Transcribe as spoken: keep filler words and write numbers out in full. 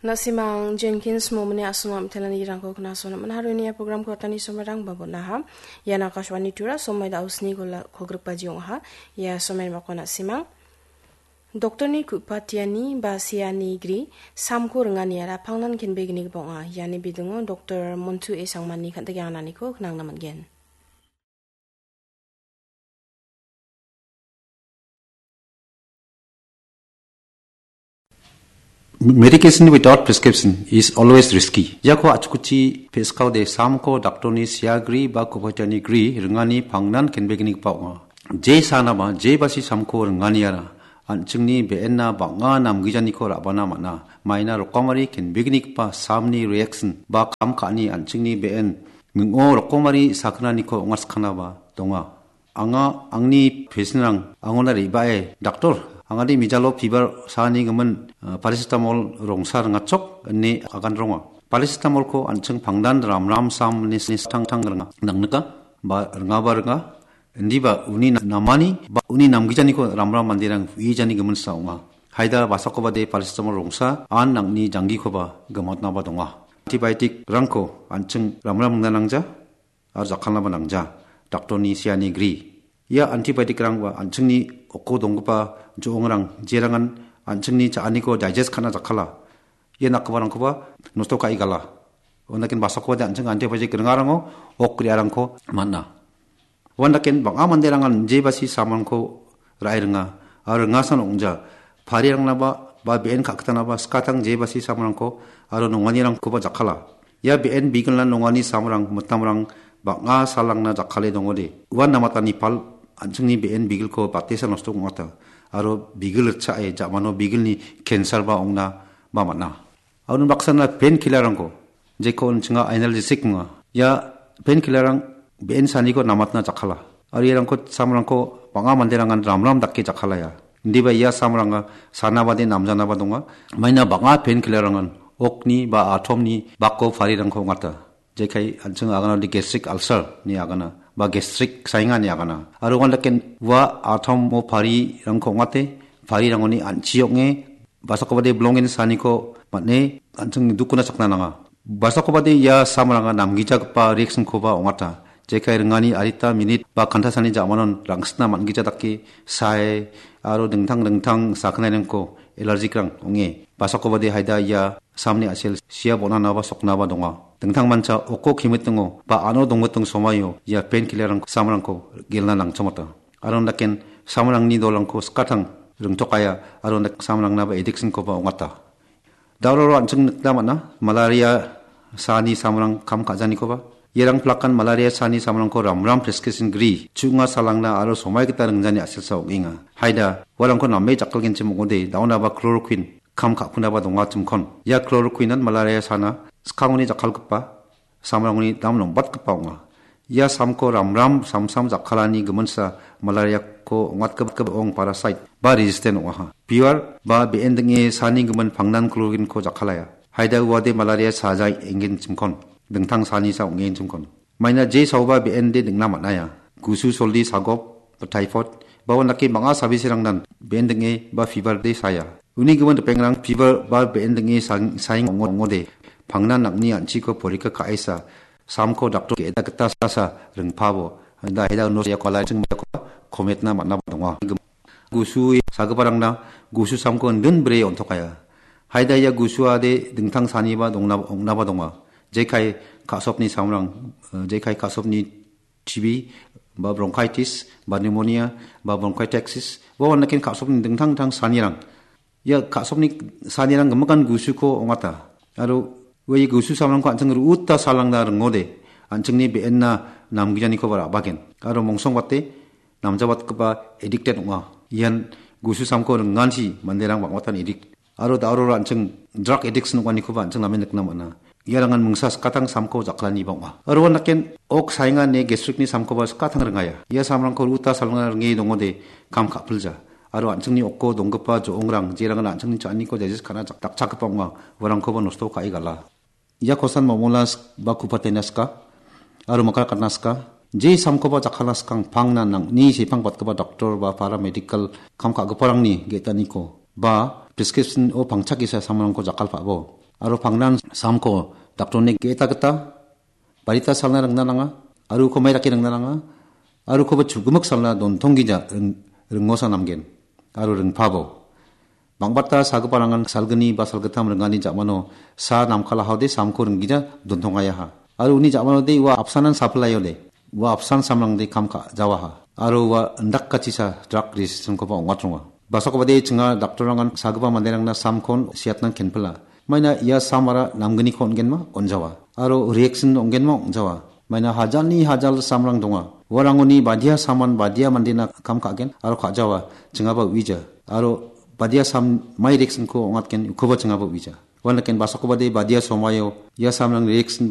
Na·simang Jenkins Momoni a·songni am·telani rangko knaso naman haroni ia program kotani somairang babonaha. Ian Akashvani Tura somai da·o sni gola kogrikbaji ong·aha. Ia somai bako na·simang. Doktorni ku·patiani ba seani gri samko ringani ara pangnan kenbegni gipa ong·a. Iani bidingo Doktor Montu E Sangmani kan·tike anganiko knangna man·gen. Medication without prescription is always risky. Iako achkuchi peskaode samko daktorni siagri ba kupatiani gri ringani pangnan kenbegni gipa ong·a. Je sanaba, je basi samko ringaniara, an·chingni be·enna bang·a namgijaniko ra·bana man·a. Maina rokomari kenbegni gipa samni reaction ba kam ka·ani an·chingni be·en ning·o rokomari sakgnaniko ong·atskangaba donga. Anga angni pesenrang angona re·bae, "Daktor, angade mijalo pibar saanigimin, eh, paracetamol rongsa ringachok," ine agan ronga. Paracetamolko an·ching pangdan ramram sam ine tangtang ringa. Nangnika ba ringaba ringa. Indiba uni na-, namani ba uni namgijaniko ramram manderang uijani giminsa ong·a. Haida basakobade paracetamol rongsa an nangni janggikoba gimatnaba donga. Antibiotic-rangko an·ching ramram ringna nangja. Aro jakkalnaba nangja. Daktorni seani gri. Ia antibiotic-rangba an·chingni oko donggipa jo·ongrang, jerangan an·chingni cha·aniko digest ka·na jakkala. Ia nakgiparangkoba nosto ka·e gala. Uandaken basakobade an·ching antibiotic ringarango ok re·arangko man·a. Uandaken bang·a manderangan jebasi samrangko ra·e ringa, aro ringasan ong·ja. Parirangnaba, ba be·en ka·gitanaba skatang jebasi samrangko aro nonganirangkoba jakkala. Ia be·en bigilna nongani samrang, mitamrang bang·a salangna jakkale dongode. Uan namatani pal an·chingni be·en bigilko batesa nosto ong·ata. Aro bigil ritchae ja·mano bigilni cancer-ba ong·na ba man·a. Aro baksana painkiller-rangko, jeko an·chinga analgesic ong·a. Ia painkiller-rang be·en saniko namatna jakkala. Aro iarangko samrangko bang·a manderangan ramram dake jakkalaia. Indiba ia samranga sana bade namjanaba donga. Maina bang·a painkiller-rangan okni ba atomni bako parirangko ong·ata. Jekai an·ching aganode gastric ulcer ni agana ba gastric sainga ni agana. Aro uandaken ua atomo parirangko ong·ate, parirangoni an·chi ong·e, basakobade bilongen saniko man·e an·ching dukona chakna nanga. Basakobade ia samranga namgijagipa reaction-koba ong·ata. Jekai ringani adita minit ba kantasani ja·manon rangsitna man·gija dake sae aro dingtang dingtang sakgnairangko allergic-rang ong·e. Basakobade haida ia samni a·sel sia bon·anaba soknaba donga. Dingtang mancha oko kimitingo ba ano dongmiting somaio ia painkiller-rang samrangko gelna nangchongata. Aro daken samrangni dolrangko skatang ringtokaia aro dak-, samrangnaba addiction-koba ong·ata. Dauroro an·ching nikna man·a, malaria saani samrang kam ka·janikoba. Iarang plakan malaria saani samrangko ramram prescription gri, chu·nga salangna aro somai gita ringjani a·selsa ong·enga. Haida, uarangko name jakkalgenchim ong·ode, daonaba chloroquine kam ka·pinaba dongachimkon. Ia chloroquine-an malaria sana skangoni jakkalgipa samrangoni dam nongbatgipa ong·a. Ia samko ramram samsam jakkalani giminsa malariako ong·atgipa ong parasite ba resistant ong·aha. Pure ba be·en ding·e sani gimin pangnan chloroquine-ko jakkalaya. Haida uade malaria sajai enggenchimkon. Dingtang sanisa ong·enchimkon. Maina je saoba be·ende ding·na man·aia. Gusu soldi sagop, ba typhoid, ba uandake bang·a sabiserangnan be·en ding·e ba fever de saya. Uni gimin ripengrang fever ba be·en ding·e sang-, saing ong·o-, ong·ode. Pangna nang·ni an·chiko porika ka·esa. Samko daktor ge·eda gita sasa ringpabo. Da heda uno ya kola ching kometna man·a donga. Gusu sagiparangna gusu samko indin bre on·tokaia. Haida ia gusuade dingtang saniba dongna-, ong·naba donga. Jekai ka·sopni samrang, eh, jekai ka·sopni T B, ba bronchitis, ba pneumonia, ba bronchiectasis, ba uandaken ka·sopni dingtang dingtang sanirang. Ia ka·sopni sanirang gimikan gusuko ong·ata. Aro ua ia gusu samrangko an·ching ru·uta salangna ringode, an·chingni be·enna namgijanikoba ra·bagen. Aro mongsongbate namjabatgipa addicted ong·a. Ian gusu samko ringansi manderang bang·batan addict. Aro da·aro an·ching drug addiction ong·anikoba an·ching namen nikna man·a. Iarangan mingsa skatang samko jakkalaniba ong·a. Aro uandaken ok saenga ine gastricni samkoba skatang ringaya. Ia samrangko ru·uta salangna ringe dongode kam ka·pilja. Aro an·chingni oko donggipa jo·ongrang, jerangan an·chingni cha·aniko digest ka·na jak-, dakchakgipa ong·a, uarangkoba nosto ka·e gala. Ia kosan mamolas ba kupatena ska, aro makrakatna ska. Je samkoba jakkalna skang pangna nang·ni sepang patgipa doktor ba paramedical kam ka·giparangni ge·taniko ba prescription-o pangchakisa samrangko jakkalpabo. Aro pangnan samko daktorni ge·eta gita barita salna ringna nanga, aro uko mai dake ringna nanga, aro ukoba chugimik salna dontonggija ring-, ringosa namgen, aro ringpabo. Bang·bata sagiparangan salgni ba salgittam ringani ja·mano sa namkalahaode samko ringgija dontongayaha. Aro uni ja·manode ua apsanan sapilayode, ua apsan samrangde kam ka·jawaha. Aro ua indakachisa drug resistance-koba ong·atronga. Basakobade chinga daktorrangan sagipa manderangna samkon siatnan kenpila. Maina ia samara namgniko on·genma on·jawa. Aro reaction ong·genma ong·jawa. Maina hajalni hajal samrang donga. Uarangoni badia saman badia mandena kam ka·gen aro ka·jawa chingaba uija. Aro badia sam mai reaction-ko ong·atgen ukoba chingaba uija. Uan daken basakobade badia somaio ia samrang reaction